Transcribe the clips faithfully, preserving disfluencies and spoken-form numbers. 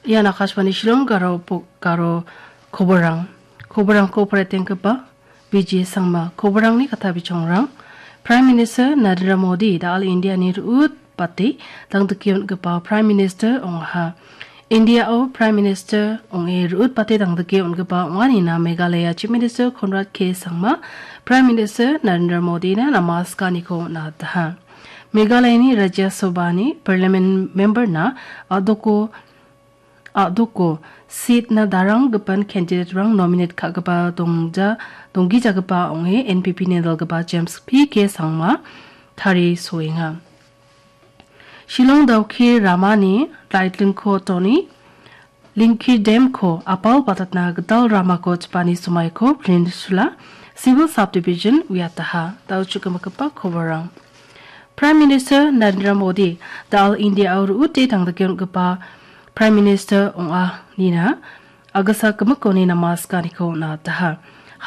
Ian Akashvani Shillong Garo po-, Garo koborang. Koborangko paretenggipa B J Sangma. Koborangni kata bichongrang. Prime Minister Narendra Modi da·al Indiani ru·ut bate dangdike on·gipa Prime Minister ong·aha. Indiao Prime Minister ong·e ru·ut bate dangdike on·gipa ong·anina Meghalaya Chief Minister Conrad K Sangma Prime Minister Narendra Modina namaskaniko on·ataha. Meghalayani Rajya Sabhani Parliament memberna a·doko, a·doko seatna daranggipan candidate-rang nominate ka·gipa dongja-, donggijagipa ong·e N P P-ni dalgipa James P K Sangma tarisoenga. Shillong Dawki ramani Laitlingko Tony, Lingki Dam-ko apal batatna gital ramako chipani somaiko Peninsula Civil Subdivision uiataha. Dao chukgimagipa koborang. Prime Minister Narendra Modi da·al Indiao ru·ute dangdike on·gipa Prime Minister ong·a nina agisa gimikoni namaskaniko on·ataha.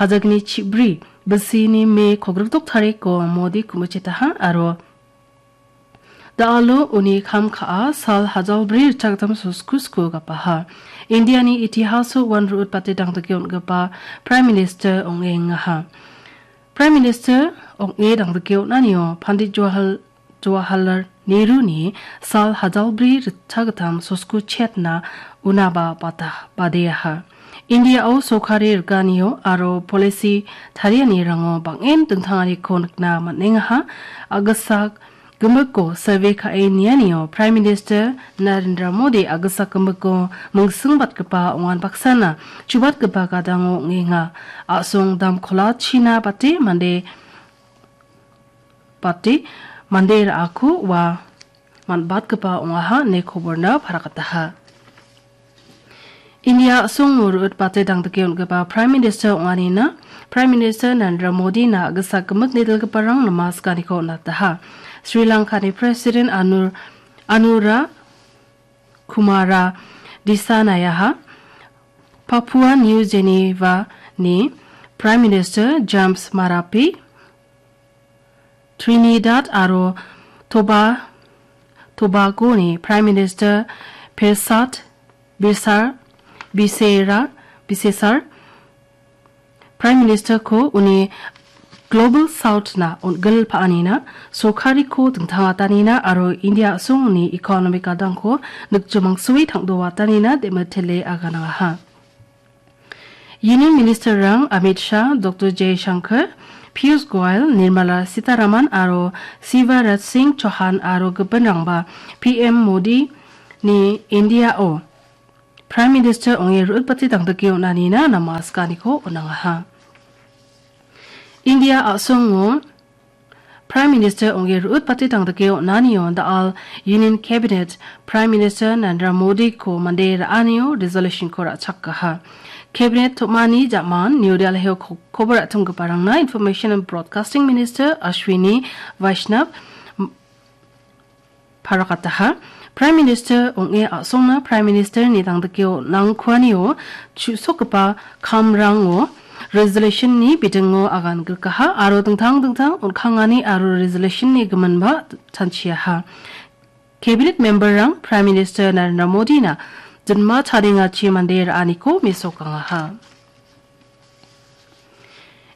Hajagni chibri bisini Me kogrikdok tariko Modi kumichetaha aro da·alo uni kam ka·a sal hajalbri ritchagittam sosku sku gapaha. Indiani itihaso uan ru·ut bate dangdike on·gipa Prime Minister ong·engaha. Prime Minister ong·e dangdike on·anio Pandit Jawahar-, Jawaharlal Nehru-ni sal hajalbri ritchagittam sosku chetna unaba bata-, badeaha. Indiao sorkari riganio aro polisi tarianirango bang·en dingtanganiko nikna man·engaha. Agisa gimikko survey ka·e nianio Prime Minister Narendra Modi agisa gimikko mingsingbatgipa ong·an baksana chubatgipa gadango ong·enga. A·song damkolachina bate mande, bate mande ra·ako ua man·batgipa ong·aha ine koborna parakataha. India a·songo ru·ut bate dangdike on·gipa Prime Minister ong·anina Prime Minister Narendra Modina agisa gimik nidilgiparang namaskaniko on·ataha. Sri Lankani President Anur-, Anura Kumara Disanayaha, Papua New Guinea-ni Prime Minister James Marape, Trinidad aro Toba-, Tobago-ni Prime Minister Persat Bisar, Bisera, Bisesar, Prime Minister-ko uni Global South-na on·gil pa·anina sorkariko dingtangatanina aro India a·songni economic gadangko nikjomangsoe tangdoatanina demitele aganangaha. Union Minister-rang Amit Shah, Doctor Jaishankar, Piyush Goyal, Nirmala Sitharaman aro Shivraj Singh Chouhan aro gipinrangba P M Modi-ni India-o Prime Minister ong·e ru·utbate dangdike on·anina namaskaniko on·angaha. India a·songo Prime Minister ong·e ru·utbate dangdike on·anio da·al Union Cabinet Prime Minister Narendra Modi-ko mande ra·anio resolution-ko ra·chakaha. Cabinet tom·ani jaman New Delhi-o ko-, kobo ra·tomgiparangna Information and Broadcasting Minister Ashwini Vaishnaw parakataha. Prime Minister ong·e a·songna Prime Minister-ni dangdike on·angkuanio chu·sokgipa kamrango resolution-ni bidingo agan grikaha aro dingtang dingtang on·kangani aro resolution-ni giminba chanchiaha. Cabinet member-rang Prime Minister Narendra Modi-na jinma chadengachi mande ra·aniko mesokangaha.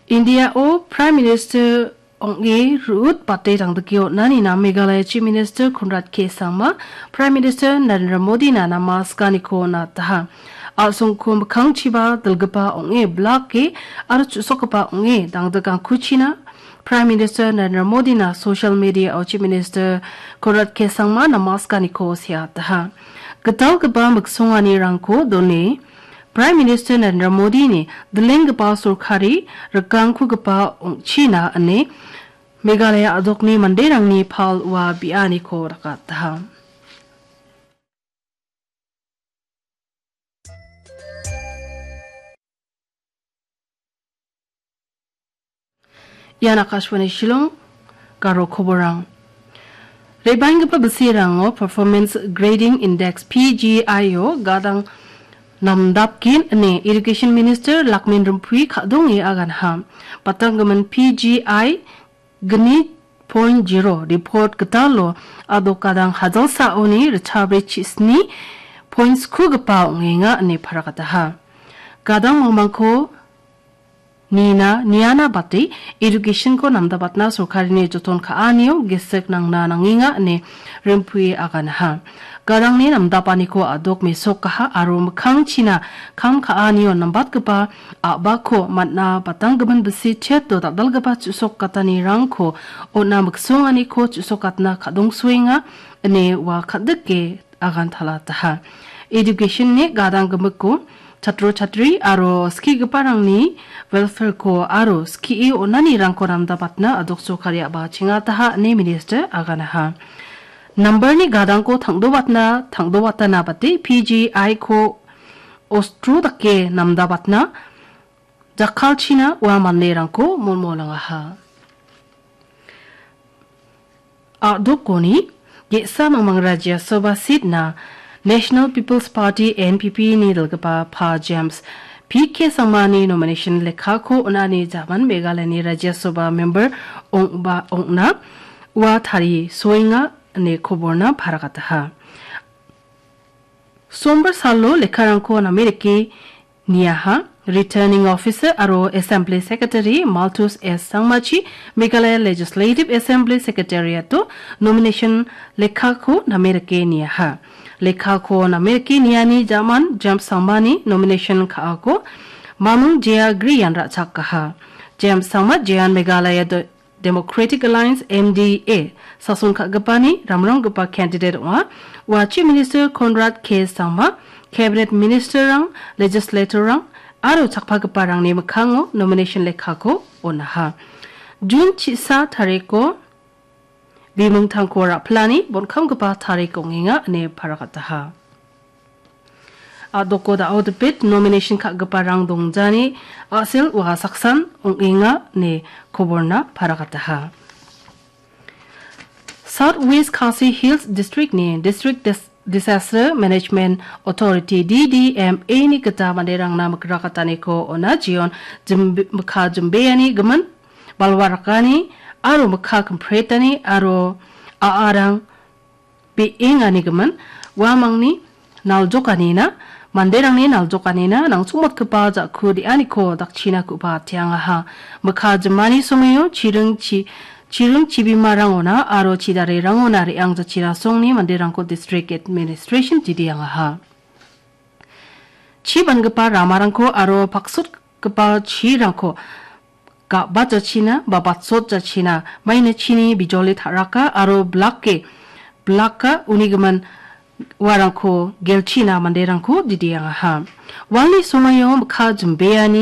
India-o Prime Minister ong·e ru·utbate dangdike on·anina Meghalaya Chief Minister Conrad K Sangma, Prime Minister Narendra Modi-na namaskaniko on·ataha. A·songko mikkangchiba dilgipa ong·e blake aro chu·sokgipa ong·e dangdikangkuchina Prime Minister Narendra Modi-na social media-o Chief Minister Conrad K Sangma namaskaniko seataha. Gitalgipa miksonganirangko done Prime Minister Narendra Modi-ni dilenggipa sorkari rikangkugipa ong·china ine Meghalaya a·dokni manderangni pal ua bianiko dakataha. Ian Akashvani Shillong, Garo koborang. Re·baenggipa bisirango Performance Grading Index, P G I-o gadang namdapgen ine Irrigation Minister Lakmin Rimpui ka·donge aganha. Batanggimin P G I gni point zero report gitalo a·dok gadang hajalsaoni ritchakbri chisni points-kugipa ong·enga ine parakataha. Gadang mangmangko nina, niana bate education-ko namdabatna sorkarini joton ka·anio gisik nangna nangenga ine rimpue aganaha. Gadangni namdapaniko a·dok mesokaha aro mikkangchina kam ka·anio nambatgipa a·bako man·a batanggimin bisi cheto dal·dalgipa chu·sokgatanirangko on·a miksonganiko chu·sokgatna ka·dongsoenga ine ua ka·dike agantalataha. Education-ni gadang gimikko chatro chatri aro skigiparangni welfare-ko aro skie on·anirangko namdabatna a·dokso kariaba chengataha ine minister aganaha. Nambarni gadangko tangdobatna, tangdobatana bate P G I-ko ostro dake namdabatna jakkalchina ua manderangko molmolangaha. A·dokoni ge·sa mangmang Rajya Sabha seat-na National People's Party, N P P-ni dilgipa Pa James P K Sangmani nomination lekkako on·ani jaman Meghalayani Rajya Sabha member ong·ba ong·na ua tarisoenga ine koborna parakataha. Sombar salo lekkarangko name dake niaha. Returning Officer aro Assembly Secretary Malthus S Sangmachi Meghalaya Legislative Assembly Secretariat-o nomination lekkako name dake niaha. Lekkako name dake niani jaman James Sangmani nomination ka·ako Mamung Jaya Griyan ra·chakaha. James Sangma Jayan Meghalaya do-, Democratic Alliance, M D A, sason ka·gipani ramronggipa candidate ong·a. Ua Chief Minister Conrad K Sangma, Cabinet Minister-rang, Legislator-rang aro chakpagiparangni mikkango nomination lekkako on·aha. Jun chisa tariko bimungtangko ra·pilani bonkamgipa tarik ong·enga ine parakataha. A·doko da·o dipit nomination ka·giparang dongjani a·sel ua saksan ong·enga ine koborna parakataha. South West Khasi Hills District-ni District Dis-, Disaster Management Authority, D D M A-ni gita manderangna mikrakataniko ona jeon jimbe-, mikka jimbeani gimin, balwa rakani aro mikka kimpretani aro a·arang be·enganigimin uamangni naljokanina, manderangni naljokanina nangchongmotgipa ja·ku de·aniko dakchina ku·ba ateangaha. Mikka jimani songengo chiring chi-, chiring chibimarangona aro chidarerangona re·ang jachina songni manderangko District Administration didiangaha. Chi bangipa ramarangko aro paksotgipa chirangko ga·bat jachina ba batsot jachina maina chini bijoli ta·raka aro blake blaka unigimin uarangko gelchina manderangko didiangaha. Walni somaio mikka jimbeani